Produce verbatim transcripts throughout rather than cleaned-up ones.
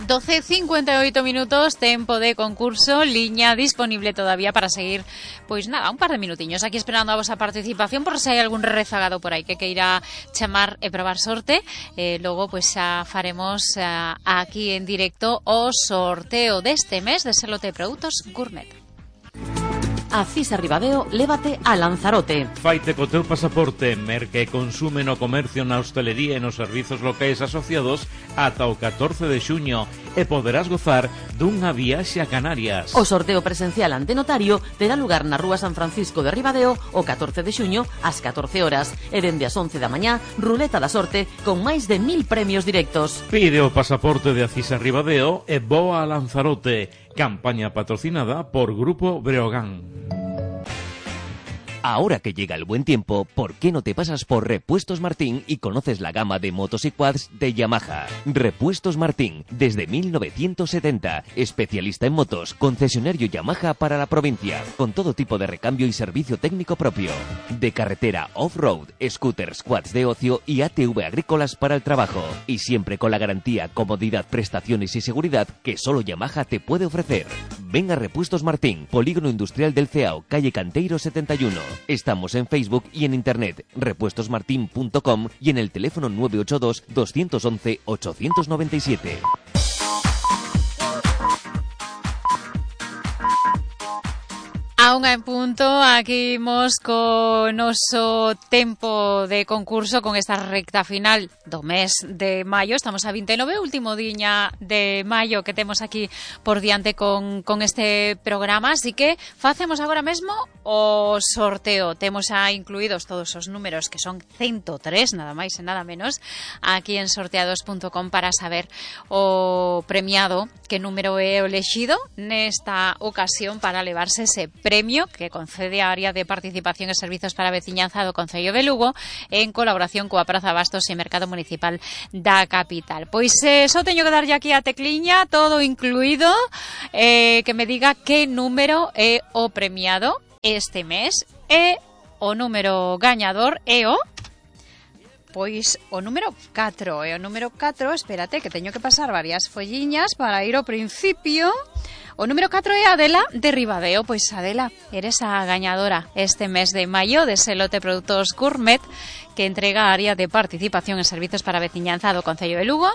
doce cincuenta y ocho minutos, tempo de concurso, liña disponible todavía para seguir, pois nada, un par de minutiños aquí esperando a vosa participación por se hai algún rezagado por aí que queira chamar e probar sorte. Eh, logo, pois xa faremos eh, aquí en directo o sorteo deste mes de Selote Produtos Gourmet. A Cisa Ribadeo, lévate a Lanzarote. Faite co teu pasaporte, merque e consume no comercio, na hostelería e nos servizos locais asociados ata o catorce de xuño e poderás gozar dunha viaxe a Canarias. O sorteo presencial ante notario terá lugar na Rúa San Francisco de Ribadeo o catorce de xuño ás catorce horas e dende as once da mañá, ruleta da sorte con máis de mil premios directos. Pide o pasaporte de Acisa Ribadeo e voa a Lanzarote. Campaña patrocinada por Grupo Breogán. Ahora que llega el buen tiempo, ¿por qué no te pasas por Repuestos Martín y conoces la gama de motos y quads de Yamaha? Repuestos Martín, desde mil novecientos setenta, especialista en motos, concesionario Yamaha para la provincia, con todo tipo de recambio y servicio técnico propio. De carretera, off-road, scooters, quads de ocio y A T V agrícolas para el trabajo. Y siempre con la garantía, comodidad, prestaciones y seguridad que solo Yamaha te puede ofrecer. Ven a Repuestos Martín, Polígono Industrial del Ceao, calle Canteiro setenta y uno. Estamos en Facebook y en internet, repuestos martin punto com y en el teléfono nueve ocho dos, dos once, ocho nueve siete. A unha en punto, aquí imos co noso tempo de concurso con esta recta final do mes de maio. Estamos a vinte e nove, último diña de maio que temos aquí por diante con, con este programa, así que facemos agora mesmo o sorteo. Temos a incluídos todos os números, que son ciento tres, nada máis e nada menos, aquí en sorteados punto com para saber o premiado, que número é o elexido nesta ocasión para levarse ese premio que concede a área de participación e servizos para a veciñanza do Concello de Lugo en colaboración coa Praza Bastos e Mercado Municipal da capital. Pois eh, só teño que darlle aquí a tecliña, todo incluído, eh, que me diga que número é o premiado este mes e o número gañador é o... Pois o número catro, e o número catro, espérate, que teño que pasar varias folliñas para ir ao principio. O número catro é Adela de Ribadeo. Pois Adela, eres a gañadora este mes de maio de Selote Produtos Gourmet, que entrega a área de participación en servizos para a veciñanza do Concello de Lugo.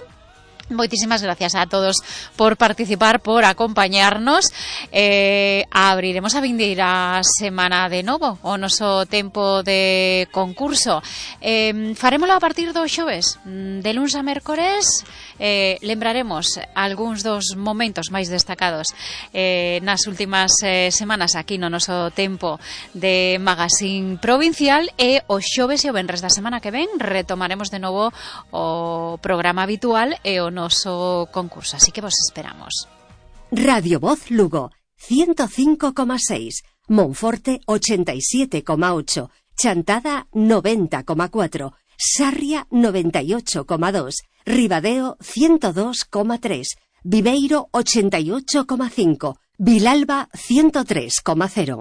Moitísimas gracias a todos por participar, por acompañarnos. Eh, abriremos a vindeira semana de novo o noso tempo de concurso. Eh, farémolo a partir do xoves, de luns a mércores. Eh, lembraremos algúns dos momentos máis destacados eh, nas últimas eh, semanas aquí no noso tempo de Magazine Provincial, e o xoves e o venres da semana que ven retomaremos de novo o programa habitual e o noso concurso, así que vos esperamos. Radio Voz Lugo, ciento cinco coma seis, Monforte ochenta y siete coma ocho, Chantada noventa coma cuatro, Sarria noventa y ocho coma dos, Ribadeo ciento dos coma tres, Viveiro ochenta y ocho coma cinco, Vilalba ciento tres coma cero.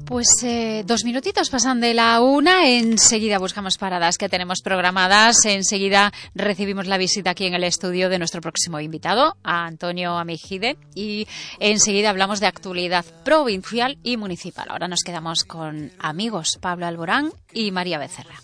Pues eh, dos minutitos pasan de la una, enseguida buscamos paradas que tenemos programadas, enseguida recibimos la visita aquí en el estudio de nuestro próximo invitado, a Antonio Amejide, y enseguida hablamos de actualidad provincial y municipal. Ahora nos quedamos con amigos Pablo Alborán y María Becerra.